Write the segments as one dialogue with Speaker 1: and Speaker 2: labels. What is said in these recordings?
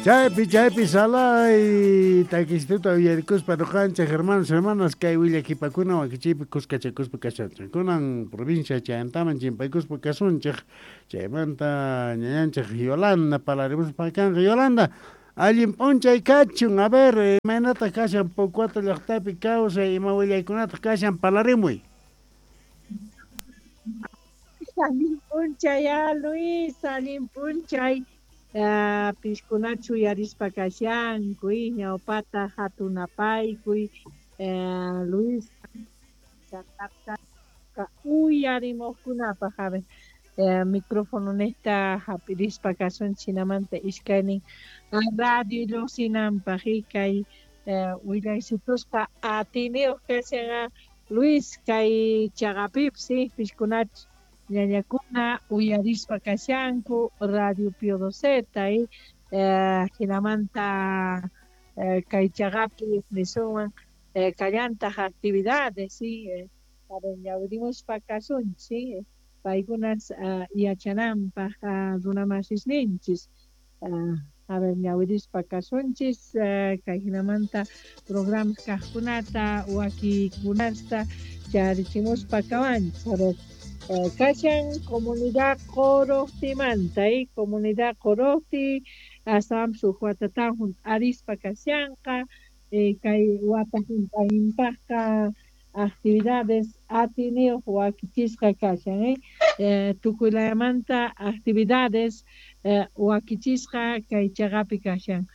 Speaker 1: Chaypi, chaypi salay takistuta uyarikuspa ñuqanchik hermanos, hermanas kay willakipakuna wakichiypi kuskachakuspa kashanchik. Kunan provincia chayantaman chimpaykuspa kasunchik. Chaymanta ñañanchik Yolanda parlarimuspa kanqa. Yolanda, allin p'unchay kachun. A ver, imaynataq kashan Pocuata llaqtapi kawsay, ima willaykunataq kashan parlarimuy.
Speaker 2: Allin p'unchay, Luis, allin p'unchay. Piskunachu uyarispa kashanku, ñawpata hatunapaykuy, Luis uyarimuqkunapaq, a ver, micrófono nesta hap'irispa kasunchik hinamanta iskaynin radio lluqsinanpaq kay willaysitusqa atiniyuq kashan Luis kay chaqapipis piskunachu ñañakuna uyarispa kashanku Radio Pío Doceta hinamanta kay chaqapi nisunman kallantaq actividades ñawirimuspa kasunchik paykunas yachananpaq runamasisninchis a ver ñawirispa kasunchis kay hinamanta programas kaqkunata wakikunasta charichimuspa kawanchis. A ver, kashan comunidad Qorojtimanta, comunidad Qorojti astawanpis huk watatan hunt'arispa kashanqa kay wata hunt'ayninpaqqa actividades atiniyuq wakichisqa kashan tukuylayamanta actividades wakichisqa kay chaqapi kashan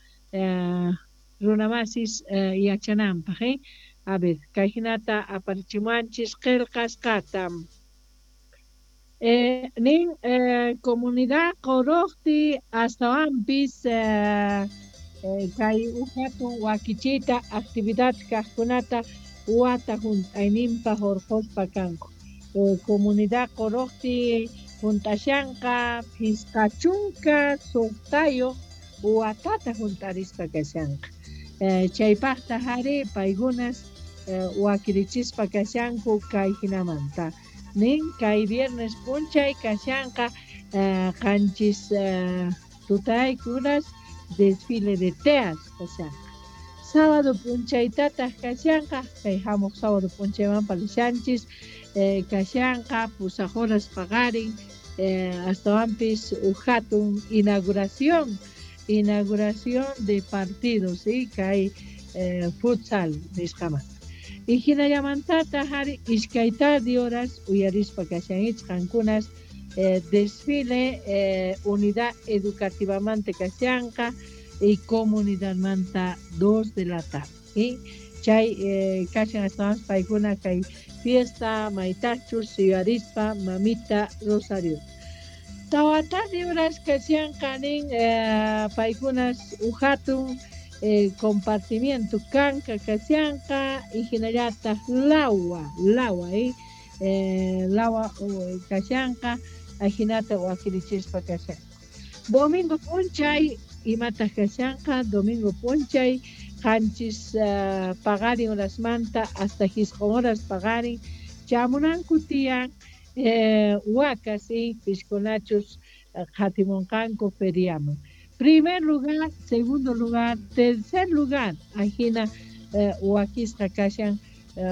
Speaker 2: runamasis yachananpaq. A ver, kay hinata aparichimuanchis qillqasqata. Nin comunidad Qorojti astawanpis kay huk hatun wakichiyta actividad kaqkunata wata hunt'ayninpaq hurquspa kanku. Comunidad Qorojti hunt'ashanqa 56 watata hunt'arispa kashanqa. Chaypaqta hari paykunas wakirichispa kashanku kay hinamanta. Nin kay viernes p'unchay kashanqa qanchis tutaykunas desfile de teas kashanqa. Sábado p'unchaytataq kashanqa kay hamuq sábado p'unchayman palishanchis kashanqa 8 horas paqarin astawanpis huk hatun inauguración de partidos kay futsal nisqamanta. Y hinallamantataq hari 2 horas uyarispa kashanchis qankunas desfile unidad educativamanta kashanqa y comunidadmanta 2 de la tarde. Chay kashan astawanpis paykuna kay fiesta maytachus yuyarispa mamita Rosario. 4 horas kashanqa nin paykunas huk hatun compartimiento kanka kashanqa y hinallataq lawa lawa kashanqa ajinata wakirichispa kashanqa. Domingo p'unchay imataq kashanqa domingo p'unchay 7 paqarin horasmanta hasta 9 horas paqarin chamunanku tiyan wakas piskunachus qhatimunqanku feriaman. Primer lugar, segundo lugar, tercer lugar, ajina wakisqa kashan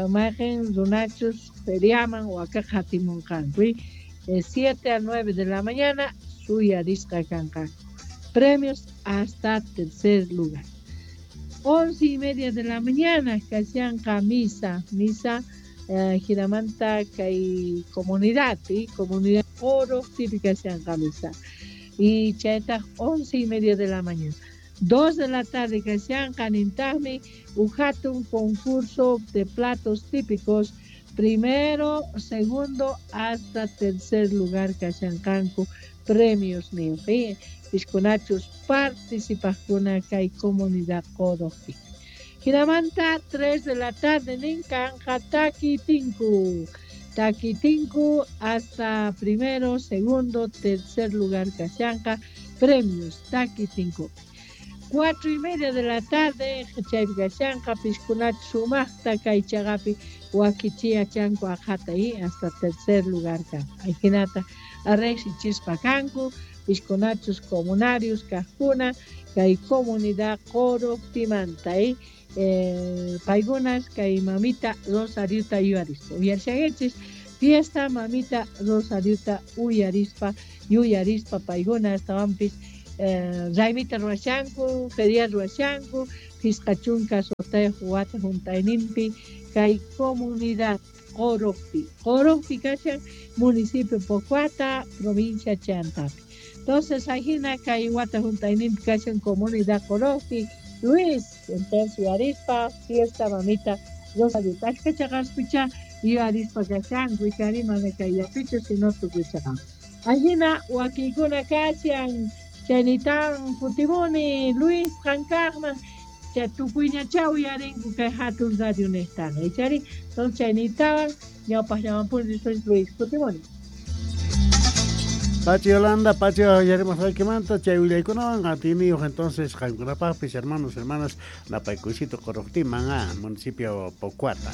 Speaker 2: mayqin runachus feriaman waka qhatimunqanku. 7 a 9 de la mañana suyarisqa kanqanku. Premios hasta tercer lugar. 11:30 de la mañana kashanqa misa hinamanta kay comunidad, comunidad oro típica kashanqa misa. Y chaytaq 11:30 de la mañana. 2 de la tarde kashanqa nintaqmi huk hatun concurso de platos típicos, primero, segundo hasta tercer lugar kashanqanku premios nin. Piskunachus participaqkuna kay comunidad Qorojti. Hinamanta 3 de la tarde nin kanqa takitinku. Takitinku hasta primero, segundo, tercer lugar kashanqa premios takitinku. 4:30 de la tarde chaypi kashanqa piskunachu sumaqta kay chaqapi wakichiya chanku aqhata hasta tercer lugar kanqa. Ajinata riqsichispa kanku Piskunachus comunarios kajkuna kay comunidad Qorojtimanta paykunas kay mamita Rosariota yuyarispa uyarishankichis fiesta mamita Rosariota uyarispa yuyarispa paykuna astawanpis raymita ruwashanku, feria ruwashanku, 56 wata juntayninpi kay comunidad Qorojpi. Qorojpi kashan municipio Pocoata, provincia Chantapi. Entonces ajina kay wata juntayninpi kashan comunidad Qorojpi. Luis, entonces yuyarispa fiesta mamita Rosariota. Ashka chaqaspicha yuyarispa kashanku, ichari mana kayllapichu sino tukuy chaqan. Ajina wakiykuna kashan chaynitan kutimuni Luis qankaqman chay tukuyñachá uyarinku kay hatun radio niqtaqa ichari entonces chaynitawan ñawpaqllamanpuni después Luis kutimuni.
Speaker 1: Pachi Yolanda, Pachi uyarimusqaykimanta chay willaykunawan atiyniyuq entonces qankunapaqpis hermanos, hermanas napaykuysito Qorojtiman, municipio Pocoata.